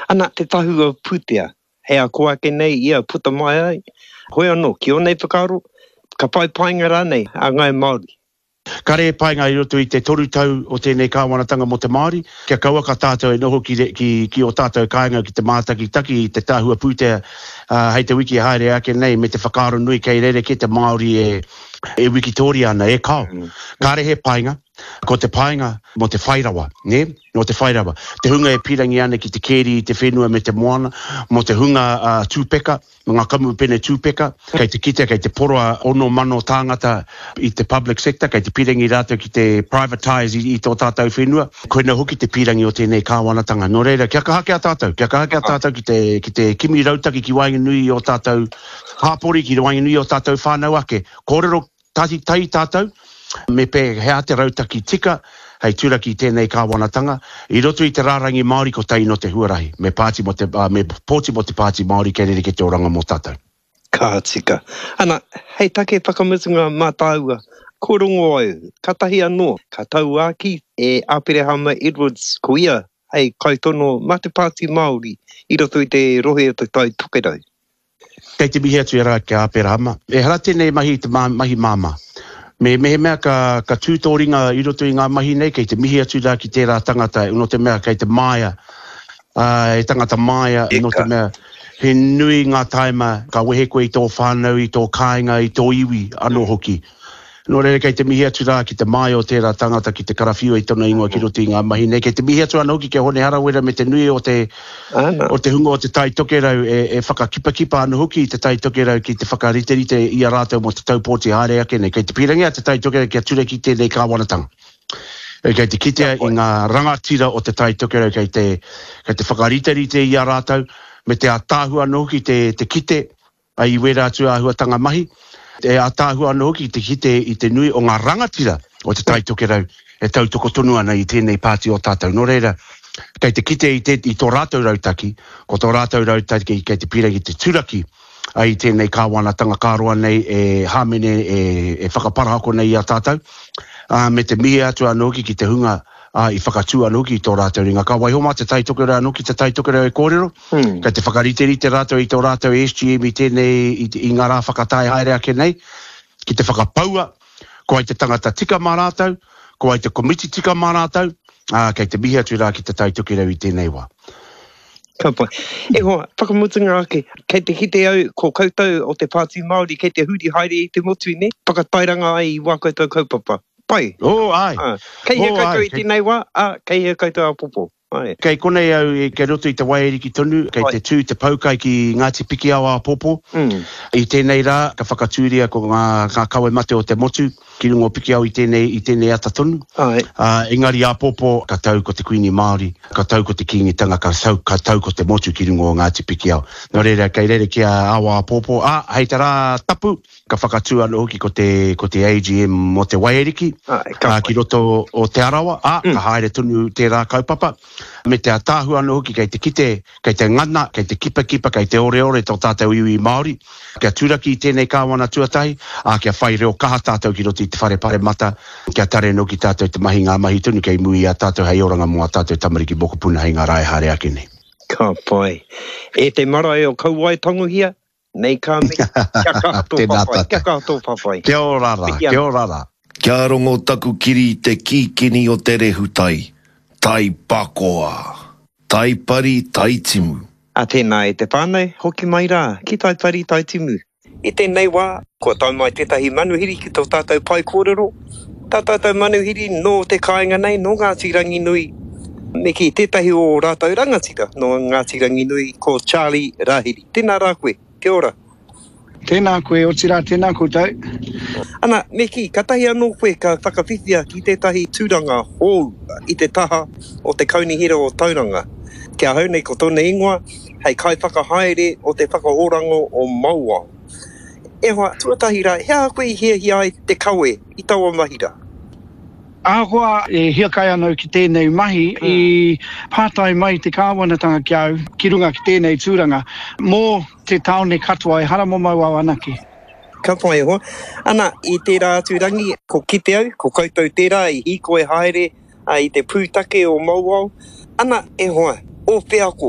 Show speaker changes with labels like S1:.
S1: Ana, te tahua pūtea, hei a kō ake nei ia puta mai ai, hoi anō, ki ō nei whakaaro, ka whai painga rānei a Ngāi Māori?
S2: Kare e painga i roto i te toru tau o tēnei kāwanatanga mō te Māori, kia kauaka tātou e noho ki, ki, ki ō tātou kāinga ki te mātakitaki i te tahua pūtea hei te wiki e haere ake nei me te whakaaro nui kei rerekē te Māori e, e wikitōria ana, e kao. Kare he painga. Ko te painga mō te whairawa, nē? Mō te whairawa. Te hunga e pīrangi ana ki te kēri i te whenua me te moana, mō te hunga tūpeka, mō ngā kamupene tūpeka, kei te kitea, kei te poroa 6,000 tāngata i te public sector, kei te pīrangi rātou ki te privatise i tō tātou whenua. Koina hoki te pīrangi o tēnei kāwanatanga. Nō reira, kia kaha ki a tātou, kia kaha ki a tātou ki te, ki te kimi rautaki ki waenganui i ō tātou hāpori, ki waenganui i ō tātou whānau ake. Kōrero Tahi tahi tātou, me pēhea te rautaki tika hei turaki i tēnei kāwanatanga, i roto i te rārangi Māori kotahi nō te huarahi, me pāti mō te, me pōti mō te Pāti Māori kei rerekē te oranga mō tātou.
S1: Ka tika. Ana, hei take whakamutunga mā tāua, ko rongo au, katahi anō ka tauākī e Aperehama Edwards ko ia hei kaitono mā te Pāti Māori i roto i te rohe o Te Tai Tokerau.
S2: Kei te mihi atu e rā ki a Aperahama. Ehara tēnei mahi i te mahi māmā. Me mehemea ka, ka tū tō ringa i roto i ngā mahi nei, kei te mihi atu rā ki tērā tangata, nō te mea kei te māia, ā, he tangata māia, nō te mea he nui ngā tāima ka wehe koe i tō whānau, i tō kāinga, i tō iwi anō hoki. Nō reira, kei te mihi atu rā ki te māia o tērā tangata ki te karawhiua i tona ingoa ki roto i ngā mahi nei. Kei te mihi atu anō hoki ki a Hone Harawira me te nui o te, o te hunga o Te Tai Tokerau e, e whakakipakipa ana hoki i Te Tai Tokerau ki te whakariterite i a rātou mō te tau pōti haere ake nei. Kei te pīrangi a Te Tai Tokerau kia turaki tēnei kāwanatanga. Kei te kitea i ngā rangatira o Te Tai Tokerau kei te, kei te whakariterite i a rātou me te ātaahua anō hoki te, te kite I wērā atu āhuatanga mahi, e ātaahua anō hoki te kite i te nui o ngā rangatira o Te Tai Tokerau e tautoko tonu ana i tēnei pāti o tātou. Nō reira, kei te kite i te, i tō rātou rautaki, ko tō rātou rautaki kei te pīrangi te turaki i tēnei kāwanatanga ka roa nei e hāmene, e, e whakaparahako nei i a tātou, ā, me te mihi atu anō hoki ki te hunga ā, i whakatū anō hoki i tō rātou ringa. Ka waiho mā Te Tai Tokerau anō ki Te Tai Tokerau e kōrero. Kei te whakariterite rātou i tō rātou SGM i tēnei, i, i ngā rā whakatae haere ake nei, ki te whakapaua, ko ai te tangata tika mā rātou, ko ai te komiti tika mā rātou, ā, kei te mihi atu rā ki Te Tai Tokerau i tēnei wā.
S1: Ka pai. E hoa, whakamutunga ake, kei te kite au ko koutou o te Pāti Māori kei te huri haere i te motu, nē? Whakatairanga ai i wā koutou kaupapa. Pai.
S2: Oh, āe. Ā,
S1: kei hea oh, koutou i tēnei wā, ā, kei hea koutou āpōpō?
S2: Ae. Kei konei au, kei roto i te waiariki tonu, kei te tū te poukai ki Ngāti Pikiao āpōpō. I tēnei rā, ka whakatūria ko ngā, ngā kawe mate o te motu ki runga o Pikiao i tēnei, i tēnei ata tonu. Ae. Ā, engari āpōpō, ka tau ko te Kuini Māori, ka tau ko te Kīngitanga, ka tau, ka tau ko te motu ki runga o Ngāti Pikiao. Nō reira, kei rerekē a ao āpōpō, ā, hei te rā tapu, Ka whakatū anō hoki ko te, ko te AGM mō te Waiariki, ā, ki roto o Te Arawa, ā, ka haere tonu tērā kaupapa. Me te ātaahua anō hoki kei te kite, kei te ngana, kei te kipakipa, kei te oreore tō tātou iwi Māori, kia turaki i tēnei kāwana tuatahi, ā, kia whai reo kaha tātou ki roto i te whare paremata, kia tare anō ki tātou te mahi ngā mahi tonu kei muri i a tātou hei oranga mō ā tātou tamariki mokopuna hei ngā rā e haere ake nei.
S1: Ka pai. E te marae o Kauae Tangohia, Nei ka mihi, kia kaha tō whawhai, kia kaha tō whawhai.
S2: Kia ora ra, kia ora ra.
S3: Kia rongo taku kiri i te kīkini o te rehutai, tai pakoa! Tai pari, tai timu.
S1: A tēnā e te whānau, hoki mai rā ki Tai Pari Tai Timu. I tēnei wā, kua tae mai tētahi manuhiri ki tō tātou pae kōrero. Tā tātou manuhiri nō te kāinga nei, nō Ngāti Ranginui, me kī, tētahi o ō rātou rangatira nō Ngāti Ranginui, ko Charlie Rahiri. Tēnā rā koe. Kia ora.
S4: Tēnā koe, otirā tēnā koutou.
S1: Ana, me kī, katahi anō koe ka whakawhiwhia ki tētahi tūranga hou i te taha o te Kaunihera o Tauranga. Ki ahau nei ko tōna ingoa hei kaiwhakahaere o te whakaoranga o Mauao. E hoa, tuatahi rā, he aha koe i hiahia ai te kawe i taua mahi rā?
S4: Ahakoa e hiakai ana au ki tēnei mahi, i pātai mai te kāwanatanga ki a au, ki runga ki tēnei tūranga, mō te tāone katoa, ehara mō Mauao anake.
S1: Ka pai e hoa. Ana, i tērā atu rangi, ko kite au, ko koutou tērā i hīkoi haere i te pūtake o Mauao. Ana, e hoa, Ō wheako.